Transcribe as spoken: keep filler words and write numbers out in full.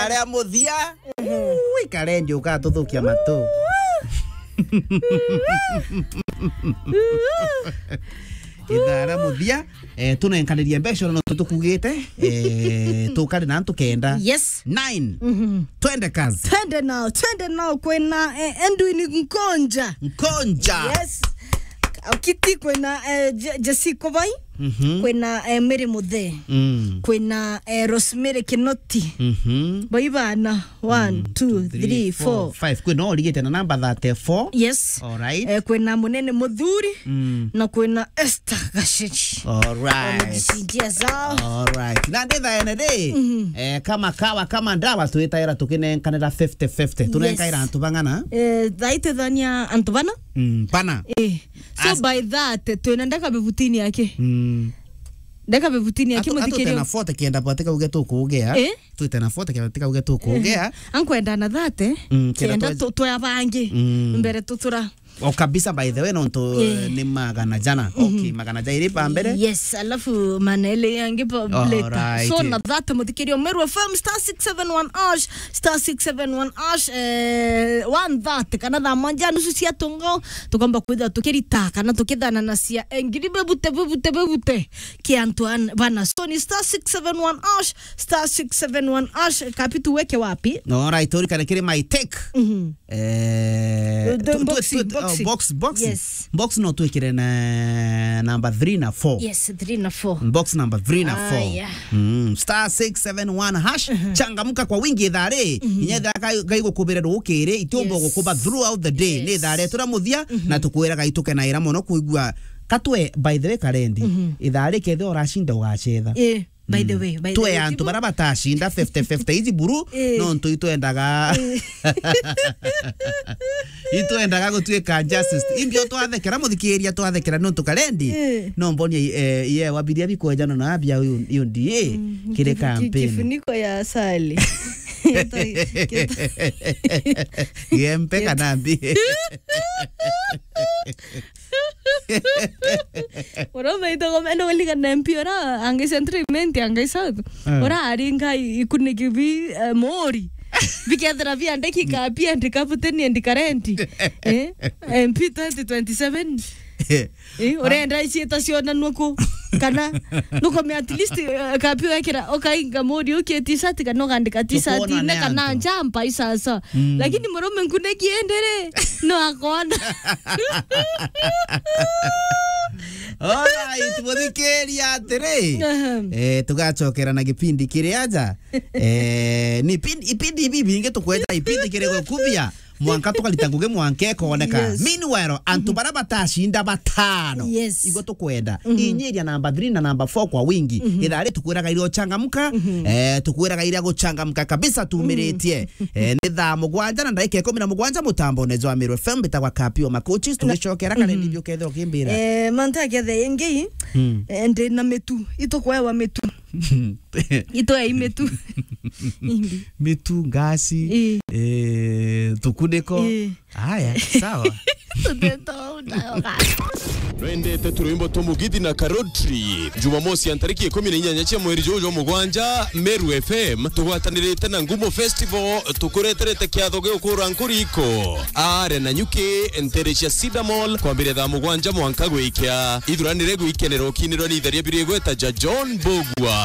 Aria muthia. Ui, Karendi, ukatuthukia matu. Ithaa ria muthia, eh, tunenkanirie mbeca no tutukugite, eh, tukari na antu kenda. Yes. Nine. Mhm. Twende kazi. Twende nao, twende nao kwina, eh, Edwin Nkonja. Nkonja. Yes. Kiti kwina, eh, Je-, Jesse Kobai. Mhm. Kwina, eh, Mary Muthe. Mm. Kwina, eh, Rosemary Kinoti. Mhm. Baibana. One, mm, two, two, three, three, four, four, five. Kwina urigite na namba thirty-four. Yes. All right. Eh, kwina Munene Muthuri. Mm. Na kwina Esther Gaciri. All right. Wamejisindia zao. All right. Na ndi thaene ri, mhm, eh, kama kawa, kama ndawa, twitaira tukinenkanira fifty fifty. Yes. Tunenkaira antu bang'ana? Eh, thaa iti thania antu bana? Mm, bana. Eh. So as- by that, twina ndaka bibutini yake. Mm. Ndaka bibutini yake. Atu-, muthikiri atute na forty kenda bwatika uge tukugea. Eh? Twite na forty kenda bwatika uge tukugea. Eh. Ankwenda na thirty, mm, kenda kenda twe- tu-, twea bangi. Mm. Mbere tutura. O kabisa, by the way, nontu, eh, ni magana jana. Mhm. Okay, magana jairi pa mbere. Yes, alafu manele yangi pa later. Alright. So na thirty, muthikirio Meru F M star six seven one hash, star six seven one hash, eh, one thirty, kana thaa mwanja nusu cia tungo, tukomba kwithira tukirita, kana tukithana na cia, eh, ngiri bebute, bebute, bebute, ki antu an-, bana. So ni star six seven one hash, star six seven one hash, kapi tuweke wapi? Alright, turikane kiri my take. Mhm. Eh, the tu-, tu-, boxing, tu-, oh, boxing. Box, box. Yes. Box no twikire na namba three na four. Yes, three na four. Box number three na four. Ah, yeah. Mm, star six seven one hash. Mhm. Changamka kwa wingi ithaa ri. Mhm. Inya ithaa gai-, gaigukubire rukiri, itiumba, yes, gukuba throughout the day. Yes. Ni ithaa rietu ria muthia, mhm, na tukwiraga itukenaira mono kwigua. Katwe, by the way, Karendi, mhm, ithaa ri kethira urachinda ugacetha. Eh. By the way, by the way, twe antu baria batacinda fifty fifty ici buru, eh, nontu itwendaga, eh, itwendaga gutuika justice. Imbio twathekera, muthikiria, twathekera nontu Karendi, eh, no mbonie, eh, ye wabiria bikwejana na abia uyu, uyu ndie, mm, kiri kifu-, ki-, campaign. Kifuniko ya asali. Geta, geta. Gempe kana mbi. Ura umeitagwo meno kulikana M P ura angai Central Imenti, angai South. Eh. Ura aringa i-, ikuniki bi, eh, mori. Bikethira biandiki ka pia ndika buteni ndika renti. Eh? M P twenty twenty-seven. Eh, urenda iciita cionanua ku? Kana nukomea at least, eh, kapi wekira, ukainga mori ukie t-shirt kana ukandika t-shirt ine kana njampa isasa. Mm. Lakini murume nkuneki endere, no akona. Alright, muthikiria atiri. Aha. Eh, tugacokera na gipindi kiri aja. Eh, ni ipindi, ipindi ibi bingi tukweja ipindi kiri gukubia. Mwanka tukarita ngugi mwanka ikoneka. Yes. Meanwhile, antu, mhm, baria batacinda batano. Yes. Igwe tukwenda. Mhm. Inyiria namba three na namba four kwa wingi. Mhm. Ithaa ri tukwiraga iria uchangamka. Mhm. Eh, tukwiraga iria guchangamka kabisa tumiritie. Mhm. Eh, ni thaa mugwanja na ndagika ikumi na mugwanja mutambone jwa Meru F M bitagwa Kapio Makochis, tugicokera kare, mhm, ndibio kethira ukimbira. Eh, mantu ya kethe ingi, mm, eh, ndi na mitu, itukwewa mitu. Itwe imitu. Mitu, ngasi, ii, eh, tukuniko. Ii. Aya, sawa. Tuteto unayoga. Nwendete turwimbo twa Mugithi na Karotri? Jumamosi ya ntariki ikumi na inyanya cia mweri juju jwa mugwanja, Meru F M tugwatanirite na Ngumo Festival tukureterete kiatho gia ukura nkuriko. Are na nyuki, ntere cia Cedar Mall, kwambiria thaa mugwanja mwanka gwikia. Ithuranire gwikenera ukinirwa ni itheria biri igweta ja John Bogwa.